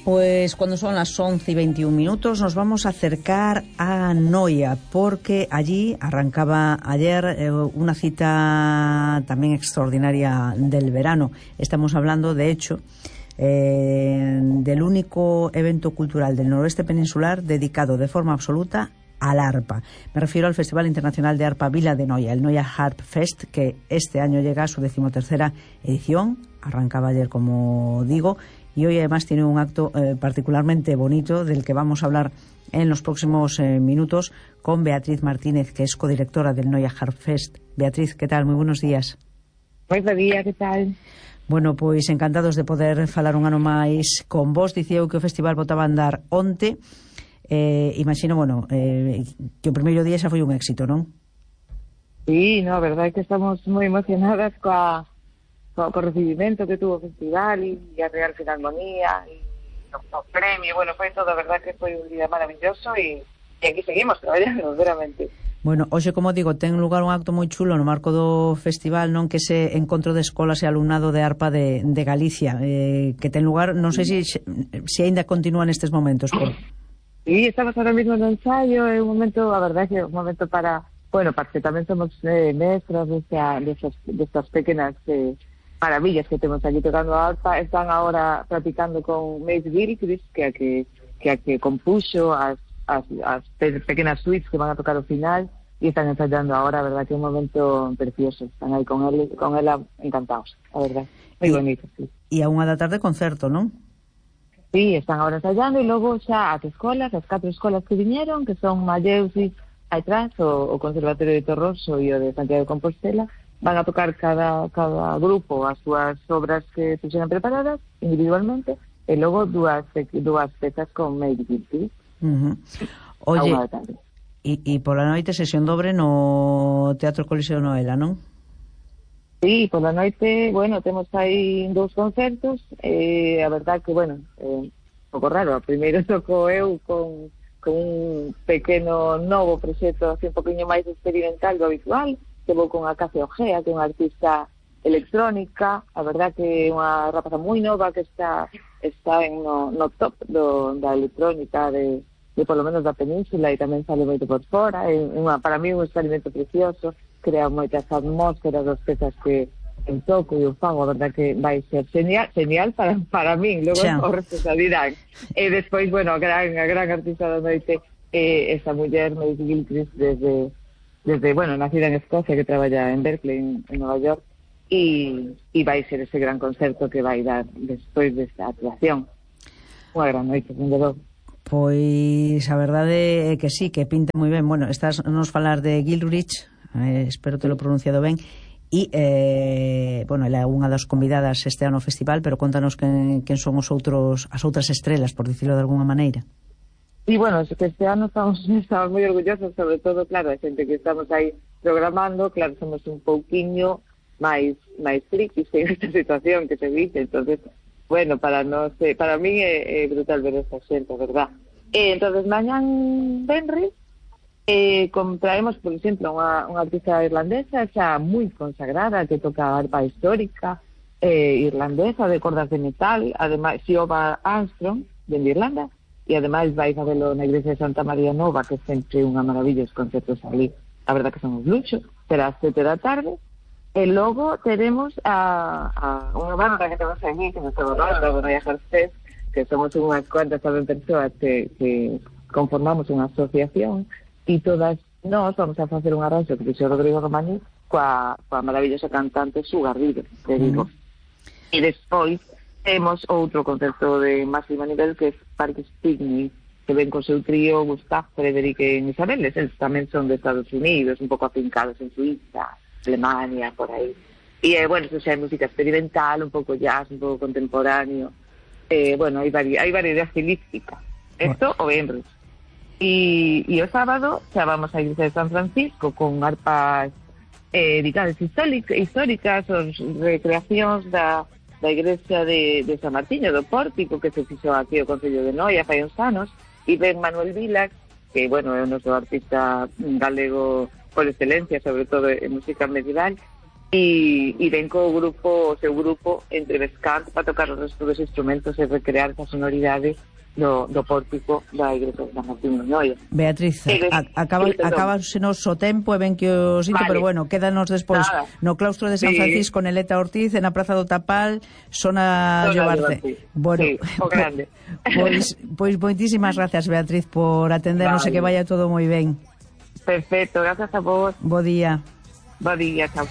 Pues cuando son las 11:21 nos vamos a acercar a Noia, porque allí arrancaba ayer una cita también extraordinaria del verano. Estamos hablando, de hecho, del único evento cultural del noroeste peninsular dedicado de forma absoluta al arpa. Me refiero al Festival Internacional de Arpa Vila de Noia, el Noia Harp Fest, que este año llega a su 13ª edición. Arrancaba ayer, como digo, y hoy además tiene un acto particularmente bonito del que vamos a hablar en los próximos minutos con Beatriz Martínez, que es codirectora del Noia Harp Fest. Beatriz, ¿qué tal? Muy buenos días. Buenos días, ¿qué tal? Bueno, pois encantados de poder falar un ano máis con vos. Dicía eu que o festival botaba a andar onte. Imagino, bueno, que o primeiro día xa foi un éxito, non? Sí, no, a verdade é que estamos moi emocionadas co recibimento que tuvo o festival e a Real Filarmonía e o premio. Bueno, foi todo, a verdade que foi un día maravilloso e aquí seguimos traballando, veramente. Bueno, hoxe, como digo, ten lugar un acto moi chulo no marco do festival, non, que ese encontro de escolas e alumnado de arpa de Galicia, que ten lugar, non sei se aínda continúa nestes momentos. Sí, estamos ahora mismo no ensayo, é un momento, a verdade que é un momento para, bueno, porque tamén somos mestras destas pequenas maravillas que temos aquí tocando a arpa. Están ahora practicando con Maeve Gilchrist, que compuxo as pequenas suites que van a tocar ao final, e están ensayando ahora, a verdade que é un momento precioso. Están aí con ela encantados, a verdade, moi bonito, sí. E a 1:00 PM concerto, non? Sí, están ahora ensayando, e logo xa as 4 escolas que viñeron, que son Malleusis, Aitrás, o Conservatorio de Torroso e o de Santiago de Compostela, van a tocar cada grupo as súas obras que fixeran preparadas individualmente, e logo dúas pezas con Maeve Gilchrist. Oye, e pola noite sesión dobre no Teatro Coliseo Noela, non? Sí, pola noite, bueno, temos aí 2 concertos, a verdade que, bueno, un pouco raro. Primeiro toco eu con un pequeno novo proxecto, así un poquinho máis experimental do habitual, que vou con a Case Ojea, que é unha artista electrónica, a verdade que é unha rapaza moi nova que está no top da electrónica de polo menos da península, e tamén sale moito por fora. É para mí un experimento precioso, crea moitas atmósferas das pezas que eu toco e eu fago. A verdade que vai ser genial para min, logo o resto xa dirán. E despois, bueno, a gran artista da noite é esa muller, Maeve Gilchrist, desde bueno, nacida en Escocia, que traballa en Berkeley, en Nova York, e vai ser ese gran concerto que vai dar despois desta actuación. Unha gran noite, sen dúbida. Pois a verdade é que sí, que pinta moi ben. Bueno, estás nos falar de Gilchrist, espero te lo pronunciado ben, e bueno, ela é unha das convidadas este ano ao festival, pero contanos quen son as outras estrelas, por dicirlo de alguna maneira. E bueno, que este ano estamos moi orgullosos, sobre todo, claro, a xente que estamos aí programando, claro, somos un pouquiño máis frikis en esta situación que se dice, entonces, bueno, para mí é brutal ver esta xente, a verdad. Entonces, mañán venres, traemos, por exemplo, unha artista irlandesa xa moi consagrada, que toca arpa histórica irlandesa de cordas de metal, ademais Siobhan Armstrong, de Irlanda, e ademais vais a velo na igrexa de Santa María Nova, que é sempre unha maravilla os concertos ali, a verdad que son un luxo. Será 7:00 PM, e logo teremos a unha banda que temos aquí, que nos estamos falando, do Noia Harp Fest, que somos unhas cuantas tamén persoas que conformamos unha asociación, e todas nós vamos a facer un arranxo que fixo Rodrigo Romaní coa maravillosa cantante Sue Garrido, que digo. E despois temos outro concerto de máximo nivel, que é Parques Picnic, que ven con seu trío Gustav, Frederic e Isabeles. Eles tamén son de Estados Unidos, un pouco afincados en Suiza, Alemania, por aí. E, bueno, eso xa é música experimental, un pouco jazz, un pouco contemporáneo. Bueno, hai variedade estilística. Esto o venres. E o sábado xa vamos á igrexa de San Francisco con arpas dedicadas históricas, as recreacións da igrexa de San Martiño do Pórtico, que se fixo aquí o Concello de Noia fai uns anos, e ven Manuel Vilac, que, bueno, é o noso artista galego por excelencia, sobre todo en música medieval, e ven co grupo, o seu grupo entre Vescant para tocar os restos dos instrumentos e recrear esa sonoridade do pórtico da igrexa de San Martín de Noia. Beatriz, acabase nos o tempo e ben que o sinto, vale. Pero bueno, quédanos despois no claustro de San Francisco, Neleta Ortiz, en a Praza do Tapal, Sona Llobarce. Bueno, o grande. Pois moitísimas gracias, Beatriz, por atendernos e que vaya todo moi ben. Perfecto, gracias a vos. Bo día. Bo día, chao.